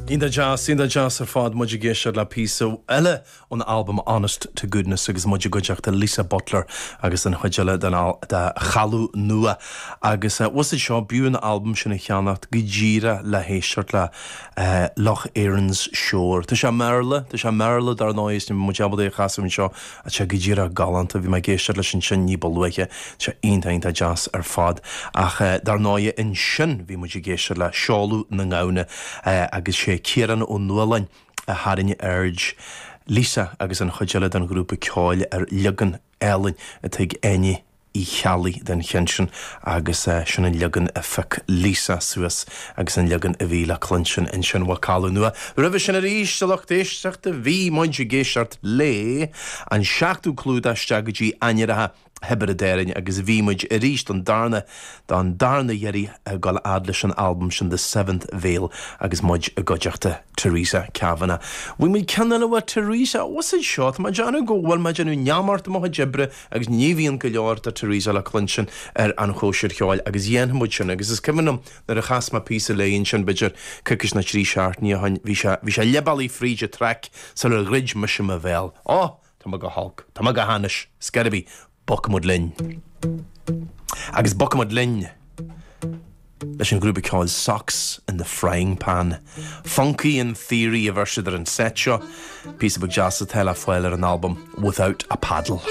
Iontach deas, iontach deas ar fad. Muid ag éisteacht le píosa eile ón albam Honest to Goodness agus muid i gcuideachta Lisa Butler agus an chuid eile den de Chaladh Nua. Agus bhfuil fhios agat seo, b'fhiú an albam sin a cheannacht go díreach le héisteacht le Loch Erin's Shore. Tá sé i mBéarla, tá sé i mBéarla dar ndóigh is níl muid ábalta é a chasadh anseo ach tá sé go díreach galánta. Bhí mé ag éisteacht leis ansin ní ba luaithe. Tá sé iontach iontach deas ar fad. Ach dar ndóigh ansin bhí muid ag éisteacht le Seoladh na nGamhna agus sé Ciarán Ó Nualláin a tharraing aird Lisa agus an chuid eile den ghrúpa ceoil ar leagan álainn atá ag Áine Uí Cheallaigh den cheann sin agus sin an leagan a phioc Lisa suas agus an leagan a bhí le cluinstin ansin ó Caladh Nua. Roimhe sin arís, a lucht éisteachta, bhí muid ag éisteacht le an seachtú clúdach isteach go dtí Ainmhithe Thiobraid Árann agus bhí muid arís don darna don darna iarraidh ag dul fhad leis an albam sin The Seventh Veil agus muid i gcuideachta Teresa Kavanagh. Bhfuil muid ceann eile uaidh Teresa? What's it seo? Tá mé ag déanamh go bhfuil mé ag déanamh neamart i mo chuid oibre agus ní bhíonn go leor de Teresa le cluinstin ar an chóisir cheoil agus dhéanfaidh muid sin agus is cuimhin liom nuair a chas mé píosa léi ansin b'fhéidir coicís nó trí seachtainí ó shin bhí sé bhí sé leath bealaigh fríd an traic sular dhruid mise mo bhéal. Ó! Tá mé go holc. Tá mé go hainnis. Scor ar bith. Bogfaidh muid linn. Agus bogfaidh muid linn leis an ghrúpa ceoil Socks in the Frying Pan. Funky in Theory a bheir siad ar an seit seo. Píosa beag deas atá le fáil ar an albam Without a Paddle.